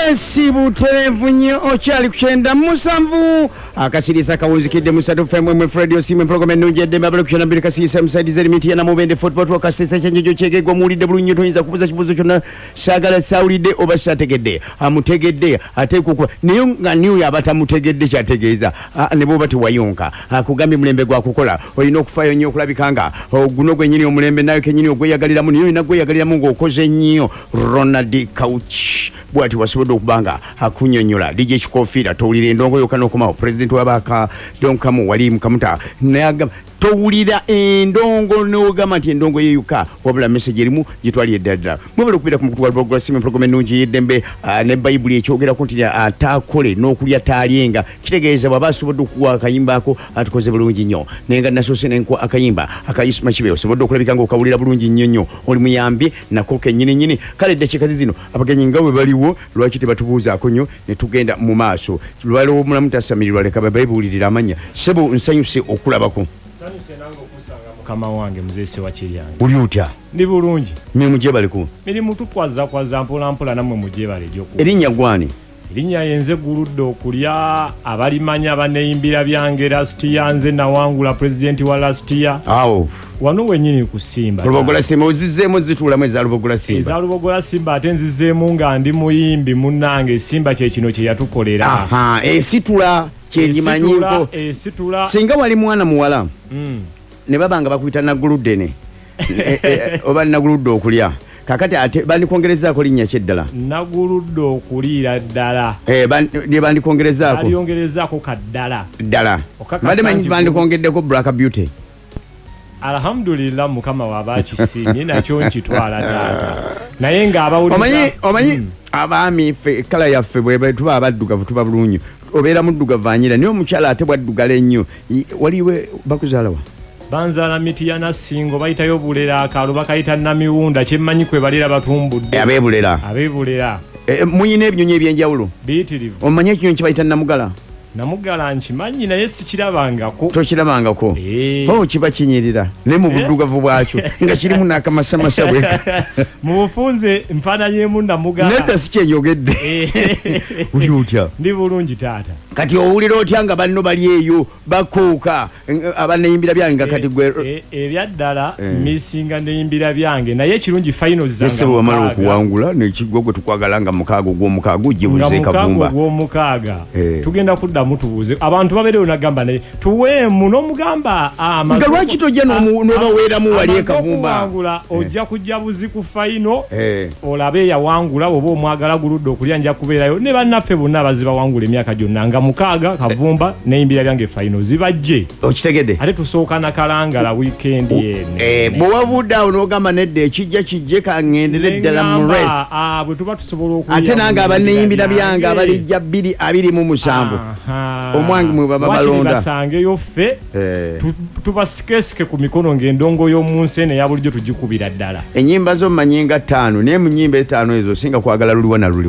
Yes, butereevu nnyo, okyali ku 97 akasiriisa kawunzikidde musatu fm radio simu program ennungi eddembe abali ku 92 kasiriisa musaidiza erimiti ya Namubende football twakasesa kyenjojo kyegegwa. Muwulidde bulungi nnyo, toyinza kubuuza kibuuzo kyonna saagala saawulidde oba saategedde. Amutegedde ateekwa okuba naye nga niyo aba tamutegedde kyategeeza. Ne bwoba tewayonka, akugambye mulembe gwa kukola, olina okufaayo nnyo okulabika nga guno gwennyini omulembe nawe kennyini ogweyagaliramu, naye olina gweyagaliramu ng'okoze nnyo. Ronald Couch bwati wasobodde okuba nga akunyonyola. DJ Kikofiira, towulira endongo yokka n'okomawo. Pulezidenti wabaka Donkamu wali mukamuta nayagamba towulira endongo n'ogamba nti endongo yeyuka, wabula message erimu gitwalire ddala ddala. Mwebale okubeera ku mukutu gwa Lubogola Simu, program ennungi y'eddembe. Ne Bayibuli ekyogerako nti ataakole n'okulya taalyenga, kitegeeza bw'aba asobodde okuwa akayimba ako atukoze bulungi nnyo. Naye nga nasoose nenkuwa akayimba akayisuma kibe osobodde okulabika ng'okawulira bulungi nnyo nnyo, oli muyambi nako kennyini nnyini. Kale eddakiika zino abagenyi nga bwe baliwo, lwaki tebatubuuzaako nnyo ne tugenda mu maaso? Lwaliwo omulamu tasamirirwa, leka babeebuulirire amannya. Ssebo, nsanyuse okulabako. Nsanyuse nange okusanga mukama wange muzeesi Wakiryange. Oli otya? Ndi bulungi. Mirimu gyebaleku? Mirimu tukwazakwaza mpolampola, nammwe mugyebale egyoku. Erinnya gwani? Erinnya yenze Guludde okulya, abalimanya baneyimbira byange. Last year nze nawangula pulezidenti wa last year. Awo wano wenyini ku Simba. Lubogola Simba, ozizzeemu zituulamu eza Lubogola Simba? Eza Lubogola Simba, ate nzizeemu nga ndi muyimbi munnange. Simba kyekino kye yatukolera. Aha, esitula kyengimanyiko. Esitula. Singa wali mwana muwala ne baba nga bakuyita Naguluddene oba Naguludde okulya, kakati ate bandikwongerezaako linnya ki eddala? Naguludde okuliira ddala. Lye bandikwongerezaako? Aliyongerezaako kaddala. Ddala. Okakasa Mbadde manyi nti bandikwongeddeko Black Beauty. Alhamdulillah, Mukama waaba akisiimye nakyo nkitwala taata, naye ng'abawuliza Omanyi abaami ffe kala yaffe bwe tuba abaddugavu tuba bulungi, obeera muddugavu anyira, naye omukyala ate bwaddugala ennyo waliwe bakuzaalawa? Banzaala Mitiyana Singo, bayitayo Bulera, akaalo bakayita Namiwunda, kyemmanyi kwe balera batumbudde. Ab'ebulera. Ab'ebulera. Muyina ebinyonyi ebyenjawulo? Biyitirivu. Omanyi ekinyonyi kibayita namugala? Namugala nkimanyi naye sikirabangako. Tokirabangako? Eh. O kiba kinyirira naye mu buddugavu bwakyo nga kirimu n'akamasamasa bwe. Mu bufunze nfaananyeemu namugala. Nedda, si kyenjogedde. Oli otya? Ndi bulungi taata. Kati owulira otya nga banno bali eyo bakuuka abaneyimbira byange nga kati gwe? Ebyaddala misinga neyimbira byange, naye ekirungi finals zanga Ese wamala 6. okuwangula nekigwa gwe tukwagala nga 6 ogw'omukaaga Nga ojjebuze 6 Kavumba. Ogw'omukaaga. Eh. Tugenda kuddamu tubuuze abantu babeereyo, nagamba naye tuweemu n'omugamba Nga lwaki tojja n'obaweeramu wali e amaze Kavumba? okuwangula, ojja kujja buzi ku final olabe eyawangula oba omwagala guludde okulya. Nja kubeerayo ne bannaffe bonna abazibawangula emyaka gyonna nga 6 Kavumba neyimbira byange final zibajje. Okitegedde? Ate tusooka nakalangala wiikendi eno. Bwe wavudde awo n'ogamba nedda, ekijja kijje, kaŋŋendere ddala mu race. Neŋŋamba, bwe tuba tusobola okulya Ate nange mu abaneyimbira byange abalijja 2027 Aha. omwange mwe baba Wakiri balonda. basangeyo ffe tubasikesike ku mikono ng'endongo y'omu nsi eno eya bulijjo tugikubira ddala. Ennyimba zo mmanyi nga ttaano, naye mu nnyimba etaano ezo singa kwagala luliwa na luliwa.